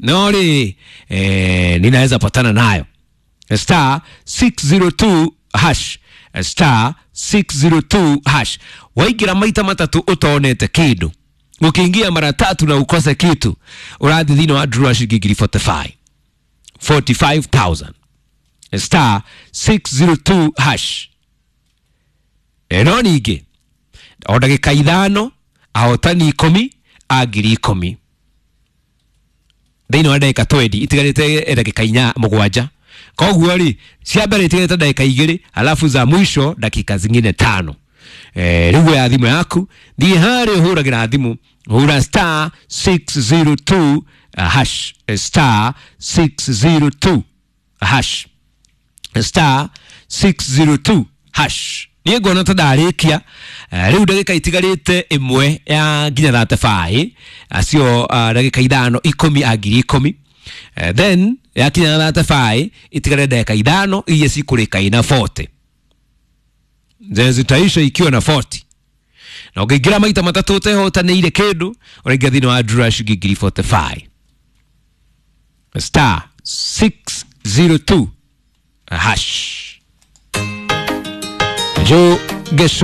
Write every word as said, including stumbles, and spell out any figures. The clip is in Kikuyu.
No rĩ, eh, ninaweza patana nayo. Star six zero two hash, star six zero two hash. Waingĩra maita matatu ũtonete kĩndũ, ukiingia mara tatu na ukose kitu, ũrathiĩ thĩinĩ wa draw ya ciringi ngiri forty five, forty five thousand. Star six zero two hash. No ningĩ o ndagĩka ithano ahotani ikũmi a ngiri ikũmi thĩinĩ wa ndagĩka twenty itigarĩte ndagĩka inya mũgwanja. Koguo rĩ, cia mbere itigarĩte ndagĩka igĩrĩ, alafu za mwisho dakika zingine tano. Eh, rĩu oya thimũ yaku, thiĩ harĩa ũhũragĩra thimũ, hũra star six zero two hash, star six zero two hash, star six zero two hash. Niĩ nguona ta ndarĩkia. Eh, rĩu ndagĩka itigarĩte ĩmwe ya nginya thate baĩ, acio, ah, ndagĩka ithano ikũmi a ngiri ikũmi. Eh, then yakinya thate baĩ itigare ndagĩka ithano iria cikũrĩka ina forty, zenye zitaisha ikiwa na forty. Na ũngĩingĩra maita matatũ ũtehotanĩire kĩndũ, ũraingĩra thĩinĩ wa draw ya ciringi ngiri forty five. Star six zero two hash. Joe Gesho.